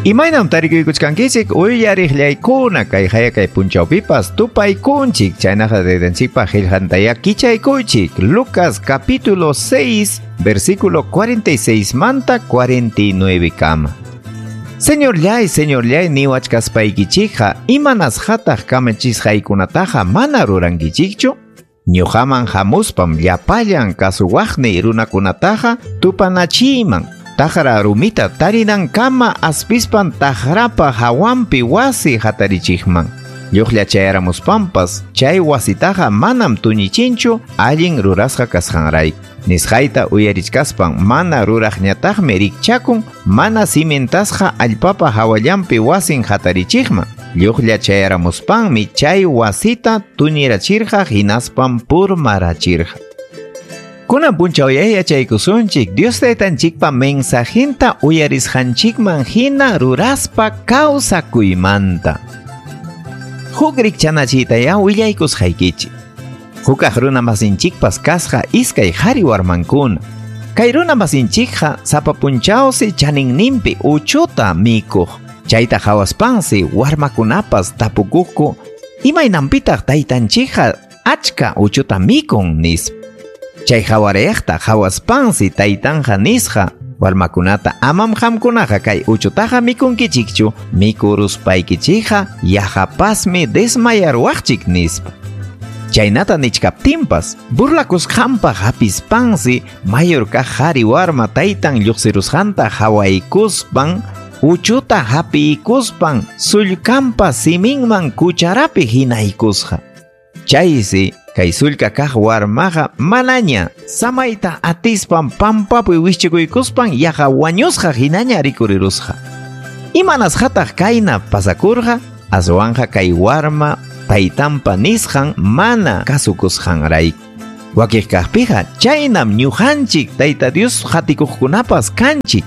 Imaynam tarikuykuchkankichik uyariqllaykuna kay hayakay punchawpipas tupaykunchik chaynaqa dedenchikpa qillqantaya kichaykuychik Lucas capítulo 6 versículo 46 manta 49 kama. Señorllay, señorllay niwachkaspaykichikqa imanasqataq kamachisqaykunataqa mana rurankichikchu? Ñuqaman hamuspam llapallan kasuwaqniy runakunataqa tupanachiyman. Taqra rumita tarinankama aspispan taqrapa hawanpi wasi hatarichikman. Lluqlla chayaramuspampas chay wasitaqa manam tuñichinchu allin rurasqa kasqanrayku. Nisqayta uyarichkaspan mana ruraqñataqmi rikchakun mana cimentasqa allpapa hawallanpi wasin hatarichikman. Lluqlla chayaramuspanmi chay wasita tuñirachirqa hinaspan purmarachirqa. Kunan punchaw yachaykusunchik Dios taytanchikpa mensajinta uyarisqanchikman hina ruraspa kawsakuymanta. Huk rikchanachiytaya willaykusqaykichik. Hukaq runa masinchikpas kasqa iskay qhari warmankuna. Kay runa masinchikqa sapa punchawsi chaninninpi uchuta mikuq. Chayta qhawaspansi warmakunapas tapukuqku imaynanpitaq taytanchikqa achka uchuta mikun nispa. Chay qhawarayaqta qhawaspansi taytanja nisqa warmakunata amam qamkunaqa kay uchutaqa mikunkichikchu mikuruspaykichikqa yaqapasmi desmayarwaqchik nispa. Chaynata nichkaptinpas burlakusqanpaq hapispansi mayor kaq qhari warma taytan lluqsirusqanta hawaykuspan uchuta hapiykuspan sullkanpa siminman cucharapi hinaykusqa. Chaysi kay sullka kaq warmaqa manaña samayta atispan pampapi wischikuykuspan yaqa wañusqa hinaña rikurirusqa. Imanasqataq kayna pasakurqa? Aswanqa kay warma taytanpa nisqan mana kasukusqanrayku. Wakiq kaqpiqa chaynam ñuqanchik Tayta Dios qatikuqkunapas kanchik.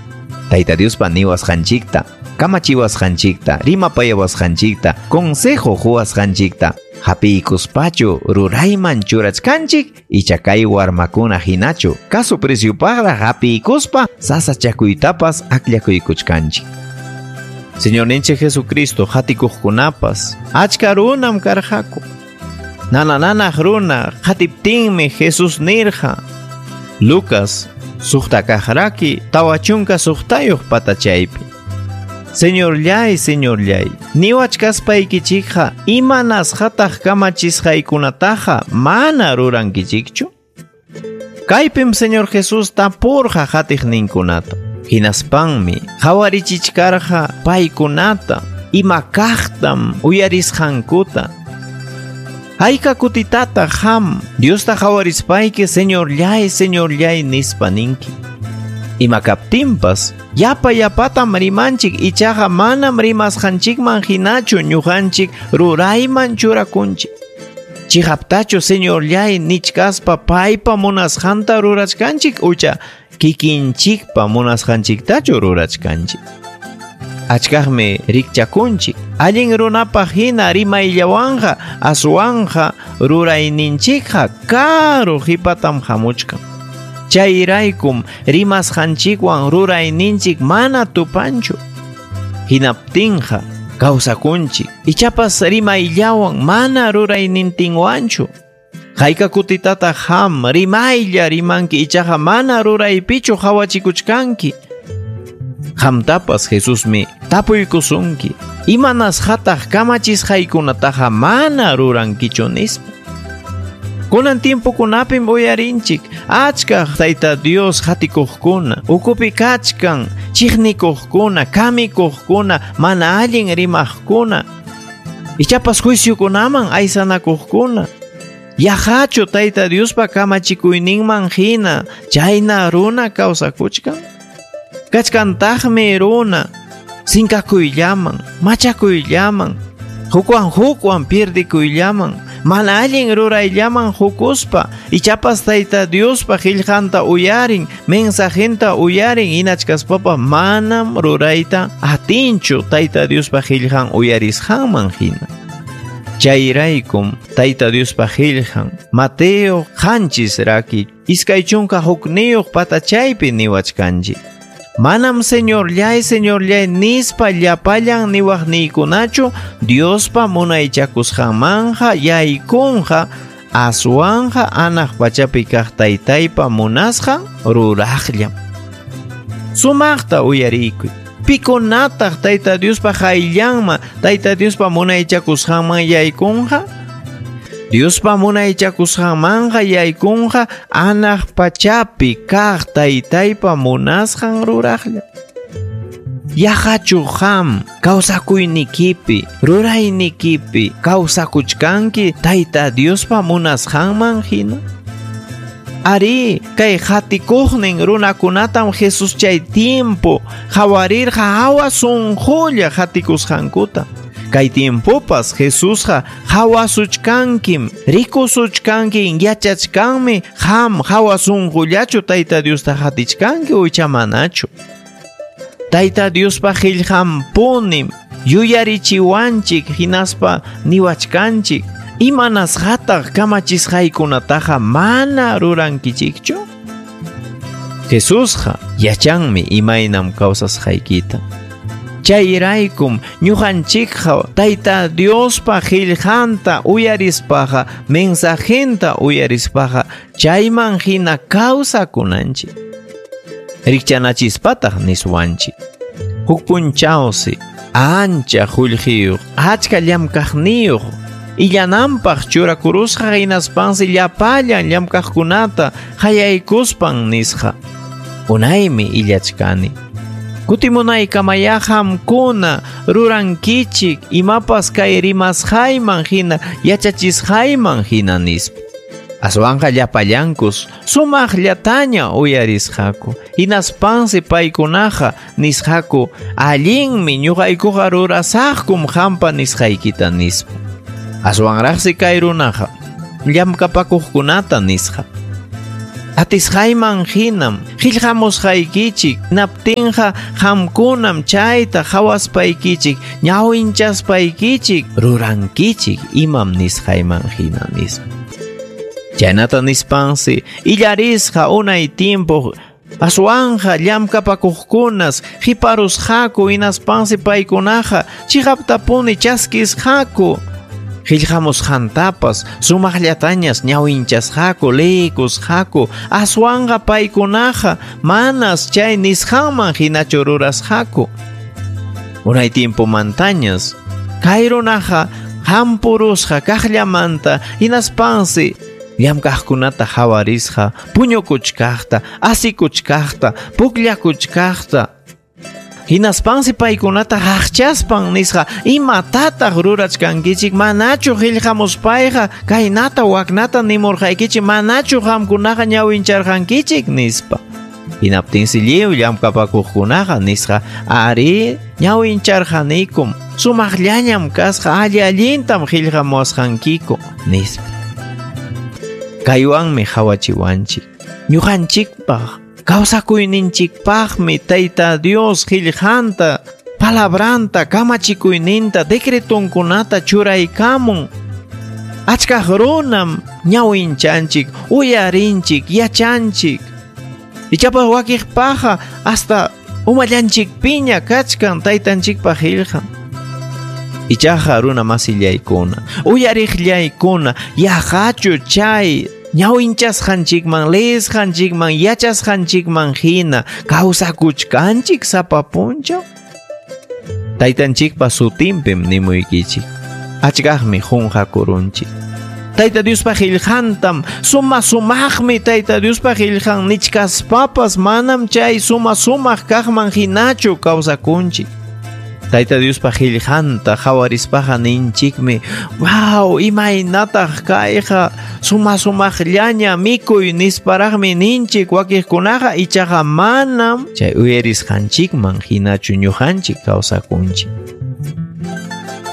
Tayta Diospa niwasqanchikta, kamachiwasqanchikta, rimapayawasqanchikta, consejo quwasqanchikta hapiykuspachu rurayman churachkanchik icha kay warmakuna hinachu kasu preciopaqraq hapiykuspa sasachakuytapas akllakuykuchkanchik. Señorninchik Jesucristo qatikuqkunapas achka runam karqaku. Nanananaq runa qatiptinmi Jesús nirqa. Lucas suqta kaqraki 46 patachaypi. Señorllay, señorllay, niwachkaspaykichikqa imanasqataq kamachisqaykunataqa mana rurankichikchu? Kaypim Señor Jesús tapurqa qatiqninkunata. Hinaspanmi qhawarichichkarqa paykunata ima kaqtam uyarisqankuta. Hayka kutitataq qam Diosta qhawarispayki señorllay, señorllay nispa ninki. Ima kaptinpas yapa yapatam rimanchik ichaqa manam rimasqanchikman hinachu ñuqanchik rurayman churakunchik. Chiqaptachu señorllay nichkaspa paypa munasqanta rurachkanchik ucha kikinchikpa munasqanchiktachu rurachkanchik. Achkaqmi rikchakunchik allin runapaq hina rimayllawanqa aswanqa rurayninchikqa karu qipatam hamuchkan. Chayraykum rimasqanchikwan rurayninchik mana tupanchu. Hinaptinqa kawsakunchik ichapas rimayllawan mana ruraynintinwanchu. Hayka kutitataq qam rimaylla rimanki ichaqa mana ruraypichu qhawachikuchkanki. Qamtapas Jesusmi tapuykusunki imanasqataq kamachisqaykunataqa mana rurankichu nispa. Kunan tiempokunapim uyarinchik achka Tayta Dios qatikuqkuna, ukupi kachkan chiqnikuqkuna, kamikuqkuna, mana allin rimaqkuna, ichapas juiciokunaman aysanakuqkuna. Yaqachu Tayta Diospa kamachikuyninman hina chayna runa kawsakuchkan? Kachkantaqmi runa sinkakuyllaman, machakuyllaman, hukwan hukwan pierdikuyllaman, mana allin rurayllaman hukuspa ichapas Tayta Diospa qillqanta uyarin, mensajenta uyarin hinachkaspapa manam rurayta atinchu Tayta Diospa qillqan uyarisqanman hina. Chayraykum Tayta Diospa qillqan Mateo 7 raki 21 patachaypi niwachkanchik. Manam Señorllay, Señorllay nispa llapallan niwaqniykunachu Diospa munaychakusqanmanja yaykunqa, aswanja anaq pachapi kaq Taytaypa munasqan ruraqllam. Sumaqta uyariykuy. Pikunataq Tayta Diospa qayllanman, Tayta Diospa munaychakusqanman yaykunqa? Diospa munaychakusqanmanqa yaykunqa anaq pachapi kaq Taytaypa munasqan ruraqlla. Yaqachu qam kawsakuynikipi, ruraynikipi kawsakuchkanki Tayta Diospa munasqanman hina? Ari, kay qatikuqnin runakunatam Jesus chay tiempo qawarirqa hawa sunqulla qatikusqankuta. Kay tiempopas Jesusqa qawasuchkankim, rikusuchkanki, yachachkanmi qam hawa sunqullachu Tayta Diosta qatichkanki ucha manachu. Tayta Diospa qillqanpunim yuyarichiwanchik hinaspa niwachkanchik, imanasqataq kamachisqaykunataqa mana rurankichikchu? Jesusqa yachanmi imaynam kawsasqaykita. Chayraykum ñuqanchikqa Tayta Diospa qillqanta uyarispaqa, mensajenta uyarispaqa chayman hina kawsakunanchik. Rikchanachispataq niswanchik. Huk punchawsi ancha qullqiyuq, achka llamkaqniyuq, illananpaq churakurusqa hinaspansi llapallan llamkaqkunata qayaykuspan nisqa. Unaymi illachkani. Kutimunaykamaya qamkuna rurankichik imapas kay rimasqayman hina, yachachisqayman hina nispa. Aswanqa llapallankus sumaqllataña uyarisqaku. Hinaspansi paykunaqa nisqaku, allinmi ñuqaykuqa rurasaqkum qampa nisqaykita nispa. Aswanraqsi kay runaqa llamkapakuqkunata nisqa. Atisqayman hinam qillqamusqaykichik, naptinqa qamkunam chayta qawaspaykichik, ñawinchaspaykichik, rurankichik imam nisqayman hina nispa. Chaynata nispansi illarisqa unay tiempo aswanja llamkapakuqkunas qiparusqaku hinaspansi paykunaqa chiqaptapuni chaskisqaku. Qillqamusqantapas sumaqllatañas ñawinchasqaku, liykusqaku, aswanqa paykunaqa manas chay nisqanman hinachu rurasqaku. Unay tiempomantañas kay runaqa hampurusqa kaqllamanta hinaspansi llamkaqkunata hawarisqa, puñukuchkaqta, asikuchkaqta, pukllakuchkaqta. Hinaspansi paykunata haqchaspan nisqa, imatataq rurachkankichik, manachu qillqamuspayqa kaynata waknata nimurqaykichik, manachu qamkunaqa ñawincharqankichik nispa. Hinaptinsi lliw llamkapakuqkunaqa nisqa, ari, ñawincharqanikum, sumaqllañam kasqa, alli allintam qillqamuwasqankiku nispa. Kaywanmi hawachiwanchik. Ñuqanchikpaq kawsakuyninchikpaqmi Tayta Dios qillqanta, palabranta, kamachikuyninta, decretonkunata churaykamun. Achkaq runam ñawinchanchik, uyarinchik, yachanchik. Ichapas wakiqpaqa hasta umallanchikpiña kachkan taytanchikpaq qillqan. Ichaqa runa masillaykuna, uyariqllaykuna, yaqachu chay ñawinchasqanchikman, leesqanchikman, yachasqanchikman hina kawsakuchkanchik sapa punchaw? Taytanchikpa sutinpim nimuykichik. Achkaqmi qunqakurunchik. Tayta Diospa qillqantam, suma sumaqmi Tayta Diospa qillqan nichkaspapas manam chay suma sumaq kaqman hinachu kawsakunchik. Tayta Diospa qillqanta qawarispaqa ninchikmi, wow, imaynataq kayqa suma sumaqllaña mikuy nisparaqmi ninchik wakiqkunaqa, ichaqa manam chay uyarisqanchikman hinachu ñuqanchik kawsakunchik.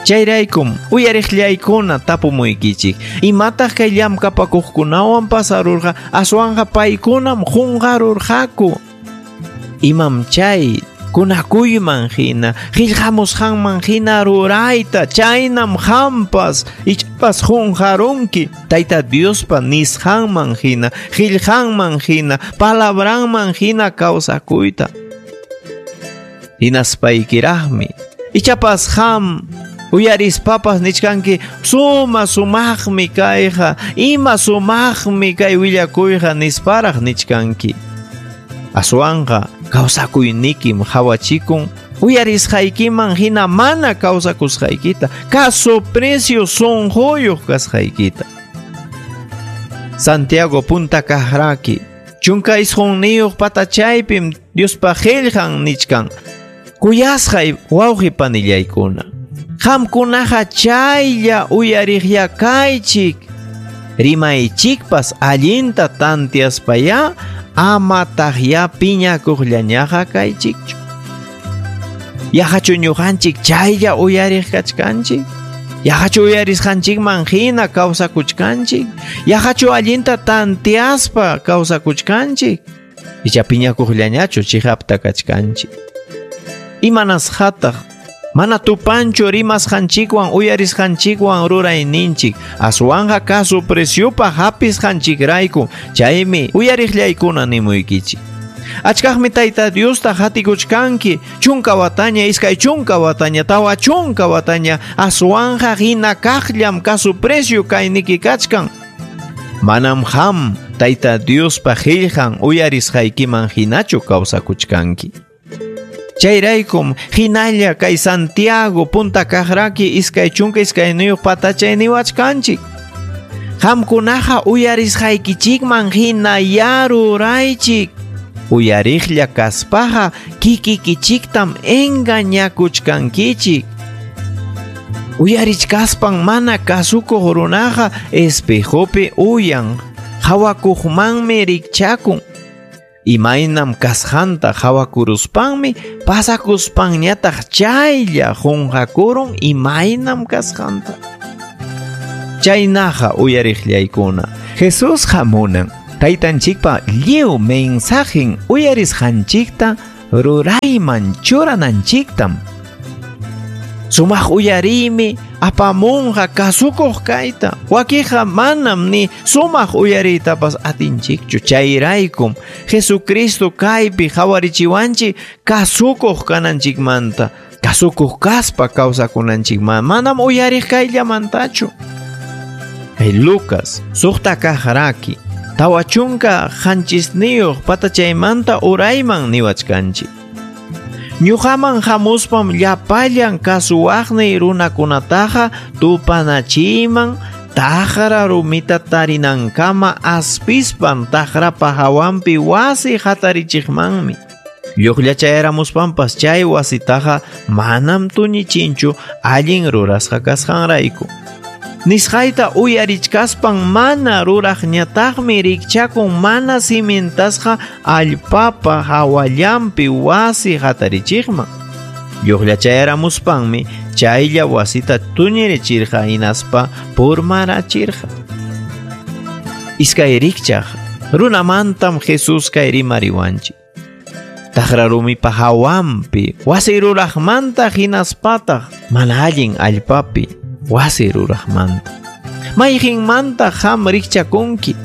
Chayraykum uyariqllaykuna tapumuykichik, imataq kay llamkapakuqkunawan pasarurqa, aswanqa paykunam qunqarurqaku. Imam chay kunakuyman hina, qillqamusqanman hina rurayta, chaynam qampas ichapas qunqarunki Tayta Diospa nisqanman hina, qillqanman hina, palabranman hina kawsakuyta. Hinaspaykiraqmi ichapas qam uyarispapas nichkanki suma sumaqmi kayqa, ima sumaqmi kay willakuyqa nisparaq nichkanki. Aswanqa kawsakuynikim qawachikun uyarisqaykiman hina mana kawsakusqaykita, kasu precio sunquyuq kasqaykita. Santiago punta kaqraki 19 patachaypim Diospa qillqan nichkan. Kuyasqay wawqi panillaykuna, qamkunaqa chaylla uyariqya kaychik, rimaychikpas allinta tantiaspayá amataqya piñakuqllañaqa kaychikchu. Yaqachu ñuqanchik chaylla uyariq kachkanchik? Yaqachu uyarisqanchikman hina kawsakuchkanchik? Yaqachu allinta tantiaspa kawsakuchkanchik? Icha piñakuqllañachu chiqapta kachkanchik? Imanasqataq mana tupanchu rimasqanchikwan uyarisqanchikwan rurayninchik, aswanqa kasu preciopaq hapisqanchikrayku, chaymi uyariqllaykuna nimuykichik. Achkaqmi Tayta Diosta hatikuchkanki 10 wataña, 20 wataña, 40 wataña, aswanqa hina kaqllam kasu precio kayniki kachkan. Manam qam Tayta Diospa qillqan uyarisqaykiman hinachu kawsakuchkanki. Chayraykum hinalla kay Santiago punta kaqraki 22 patachay niwachkanchik. Qamkunaqa uyarisqaykichikman hina yaruraychik. Uyariqlla kaspaqa kikikichiktam engañakuchkankichik. Uyarichkaspan mana kasukuq runaqa espejopi uyan, hawakuqmanmi rikchakun. Imaynam kasqanta hawakuruspanmi pasakuspanñataq chaylla qunqakurun imaynam kasqanta. Chaynaqa uyariqllaykuna, Jesús hamunan taytanchikpa lliw mensajen uyarisqanchikta rurayman churananchiktam. Sumaq uyariymi apamunqa kasukuq kayta. Wakiqa manam ni sumaq uyariytapas atinchikchu. Chayraykum Jesucristo kaypi qhawarichiwanchik kasukuq kananchikmanta, kasukuq kaspa kawsakunanchikmanta, manam uyariq kayllamantachu. Kay Lucas 6 kaqraki 47 patachaymanta urayman niwachkanchik. Ñuqaman hamuspam llapallan kasuwaqniy runakunataqa tupanachiman taqra rumita tarinankama aspispan taqrapa hawanpi wasi hatarichiqmanmi. Lluqllachayaramuspanpas chay wasitaqa manam tuñichinchu allin rurasqa kasqanrayku. Nisqayta uyarichkaspan mana ruraqñataqmi rikchakun mana cimentasqa allpapa hawallanpi wasi hatarichiqman. Lluqllachayaramuspanmi chaylla wasita tuñirichirqa hinaspa purmarachirqa. Iskay rikchaq runamantam Jesús kay rimariwanchik. Taqra rumipa hawanpi wasi ruraqmanta hinaspataq mana allin allpapi wasi ruraqmanta. Mayqinmanta qam rikchakunki?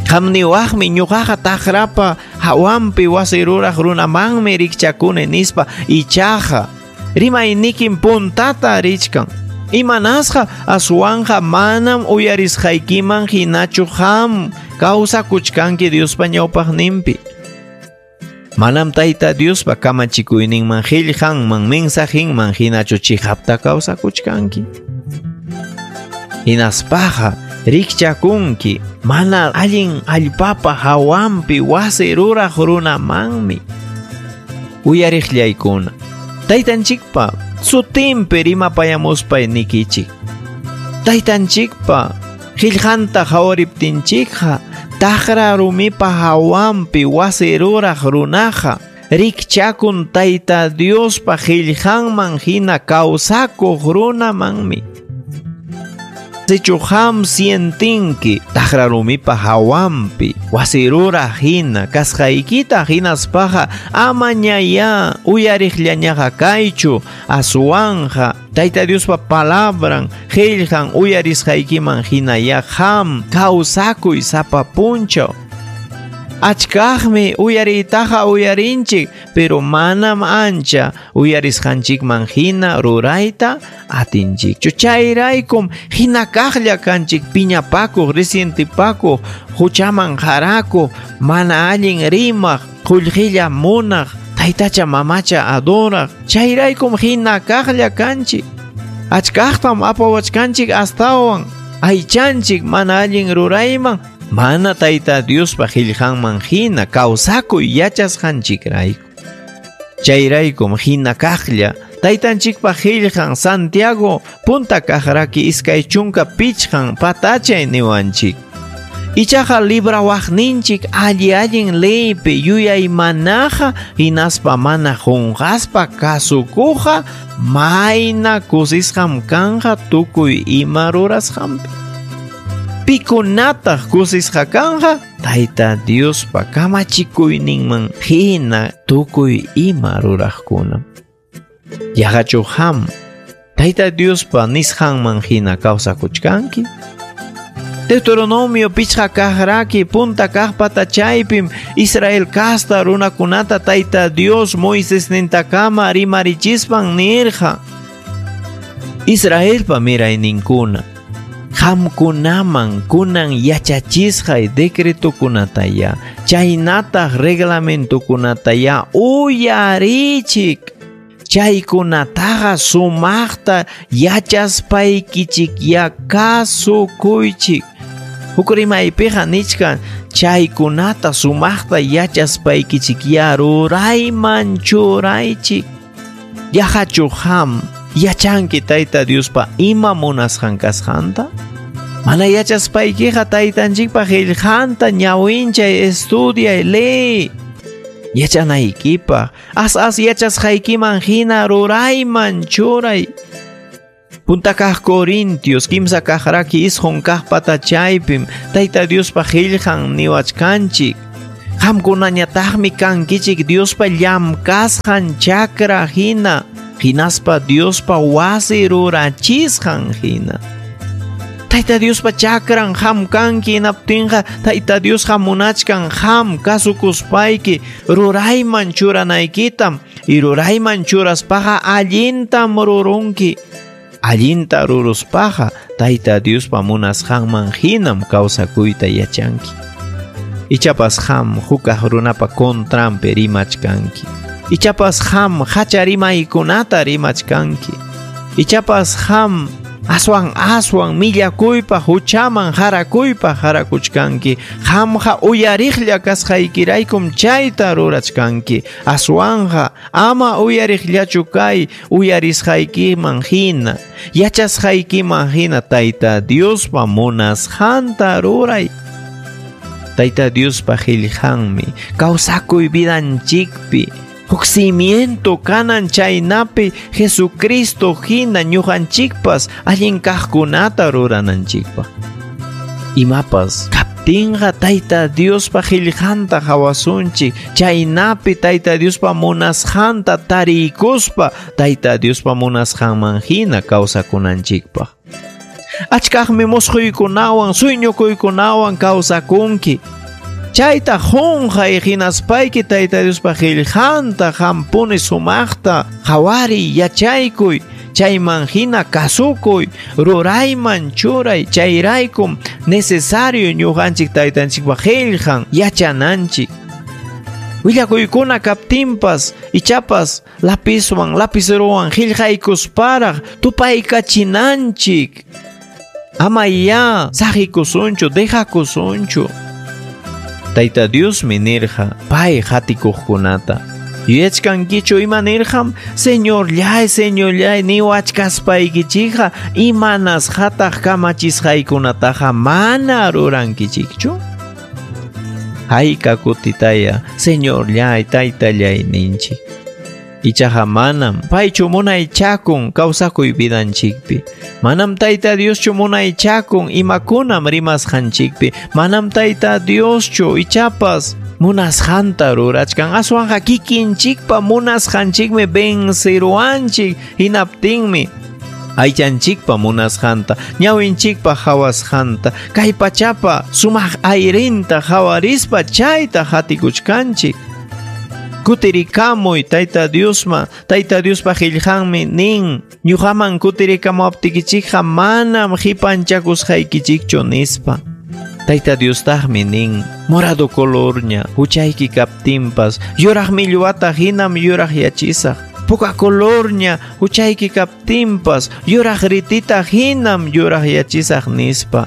Qam niwaqmi ñuqaqa taqrapa hawanpi wasi ruraq runamanmi rikchakuni nispa, ichaqa rimaynikim puntata richkan. Imanasqa aswanqa manam uyarisqaykiman hinachu qam kawsakuchkanki Diospa ñawpaqninpi. Manam Tayta Diospa kamachikuyninman qillqanman mensajinman hinachu chiqapta kawsakuchkanki. Hinaspaqa rikchakunki mana allin allpapa hawanpi wasi ruraq runamanmi. Uyariqllaykuna, Taytanchikpa sutinpi rimapayamuspay nikichik. Taytanchikpa qillqanta hawariptinchikqa taqra rumipa hawanpi wasi ruraq runaqa rikchakun Tayta Diospa qillqanman hina kawsakuq runamanmi. Sichu qam sientinki taqra rumipa hawanpi wasi ruraq hina kasqaykita hinaspaqa amañayá uyariqllañaqa kaychu, aswanqa Tayta Diospa palabran qillqan uyarisqaykiman hinayá qam kawsakuy sapa punchaw. Achkaqmi uyariytaqa uyarinchik, pero manam ancha uyarisqanchikman hina rurayta atinchikchu. Chayraykum hina kaqlla kanchik piñapakuq, resientepakuq, huchaman harakuq, mana allin rimaq, qullqilla munaq, taytacha mamacha adoraq. Chayraykum hina kaqlla kanchik. Achkaqtam apawachkanchik astawan aychanchik mana allin rurayman, mana Tayta Diospa qillqanman hina kawsakuy yachasqanchikrayku. Chayraykum hina kaqlla Taytanchikpa qillqan Santiago punta kaqraki 25 patachay niwanchik. Ichaqa librawaqninchik alli allin leypi yuyaymanaqa hinaspa mana qunqaspa kasukuqa mayna kusisqam kanqa tukuy ima rurasqanpi. Pikunataq kusisqa kanqa Tayta Diospa kamachikuyninman hina tukuy ima ruraqkuna. Yaqachu qam Tayta Diospa nisqanman hina kawsakuchkanki? Deuteronomio 5 kaqraki punta kaq patachaypim Israel kasta runakunata Tayta Dios Moisés nintakama rimarichispan nirqa: Israelpa mirayninkuna, qamkunaman kunan yachachisqay decretokunataya, chaynataq reglamentokunataya uyarichik. Chaykunataqa sumaqta yachaspaykichik ya kasukuychik. Huk rimaypiqa nichkan chaykunata sumaqta yachaspaykichik ya rurayman churaychik. Yaqachu qam yachanki Tayta Diospa ima munasqan kasqanta? Mana yachaspaykiqa Taytanchikpa qillqanta ñawinchay, estudiay, leey. Yachanaykipaq as as yachasqaykiman hina rurayman churay. Punta kaq Corintios 3 kaqraki 9 kaq patachaypim Tayta Diospa qillqan niwachkanchik: Qamkunañataqmi kankichik Diospa llamkasqan chakra hina, hinaspa Diospa wasi rurachisqan hina. Tayta Diospa chakran qam kanki hinaptinqa Tayta Diosqa munachkan qam kasukuspayki rurayman churanaykitam, y rurayman churaspaqa allintam rurunki. Allinta ruruspaqa Tayta Diospa munasqanman hinam kawsakuyta yachanki. Ichapas qam hukaq runapa contranpi rimachkanki. Ichapas qam hacha rimaykunata rimachkanki. Ichapas qam aswan aswan millakuypa huchaman harakuypa harakuchkanki. Qamqa uyariqlla kasqaykiraykum chayta rurachkanki. Aswanja ama uyariqllachu kay uyarisqaykiman hina, yachasqaykiman hina Tayta Diospa munasqanta ruray. Tayta Diospa qillqanmi kawsakuy vidanchikpi huk cimiento kanan chaynapi Jesucristo hina ñuqanchikpas allin kaqkunata rurananchikpaq. Imapas kaptinqa Tayta Diospa qillqanta hawasunchik, chaynapi Tayta Diospa munasqanta tariykuspa Tayta Diospa munasqanman hina kawsakunanchikpaq. Achkaqmi musquykunawan sueñokuykunawan kawsakunki. Chayta qunqay hinaspayki Tayta Diospa qillqanta qampuni sumaqta qhawariy, yachaykuy, chayman hina kasukuy, rurayman churay. Chayraykum necesario ñuqanchik Taytanchikpa qillqan yachananchik. Willakuykuna kaptinpas ichapas lapiswan lapicerowan qillqaykusparaq tupaykachinanchik. Ama ya saqikusunchu, dejakusunchu. Tayta Diosmi nirqa pay qatikuqkunata: Yuyachkankichu ima nirqam? Señorllay, señorllay niwachkaspaykichikqa imanasqataq kamachisqaykunataqa mana rurankichikchu? Hayka kutitaya Señorllay, Taytallay ninchik. Ichaqa manam paychu munaychakun kawsakuy vidanchikpi. Manam Tayta Dioschu munaychakun imakunam rimasqanchikpi. Manam Tayta Dioschu ichapas munasqanta rurachkan. Aswanqa kikinchikpa munasqanchikmi venceruanchik hinaptinmi Aychanchikpa munasqanta, ñawinchikpa hawasqanta, kay pachapa sumaq ayrinta hawarispa chayta hatikuchkanchik. Kutirikamuy Tayta Diosman, Tayta Diospa qillqanmi nin, ñuqaman kutirikamuwaptikichikqa manam qipanchakusqaykichikchu nispa. Tayta Diostaqmi nin, morado colorña, huchayki kaptinpas, yuraq millwata hinam yuraqyachisaq. Puka colorña, huchayki kaptinpas, yuraq ritita hinam yuraqyachisaq nispa.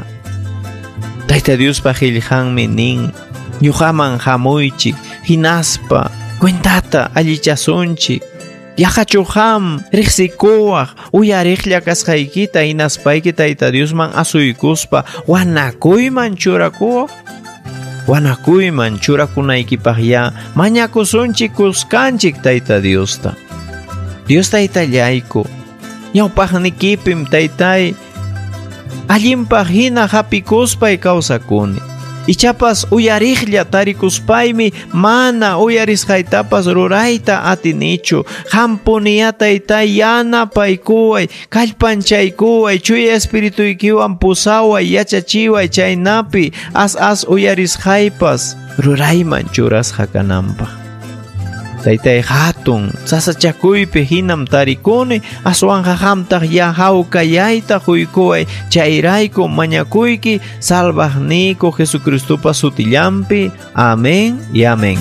Tayta Diospa qillqanmi nin, ñuqaman hamuychik, hinaspa, cuentata allichasunchik. Yaqachu qam riqsikuwaq uyariqlla kasqaykita hinaspayki Tayta Diosman asuykuspa wanakuyman churakuwaq? Wanakuyman churakunaykipaq ya mañakusunchik kuskanchik Tayta Diosta. Dios Taytallayku, ñawpaqnikipim Taytay allinpaq hina hapikuspay kawsakuni. Ichapas uyariqlla tarikuspaymi mana uyarisqaytapas rurayta atinichu. Hampuniya Taytay yanapaykuway, kallpanchaykuway, chuya espirituykiwan pusaway, yachachiway chaynapi as as uyarisqaypas rurayman churasqa kananpaq. Taytay hatun sasachakuypi hinam tarikuni, aswanqa qamtaq ya hawkayayta quykuway, chayrayku mañakuyki salvaqniyku Jesucristopa sutillanpi. Amén y amén.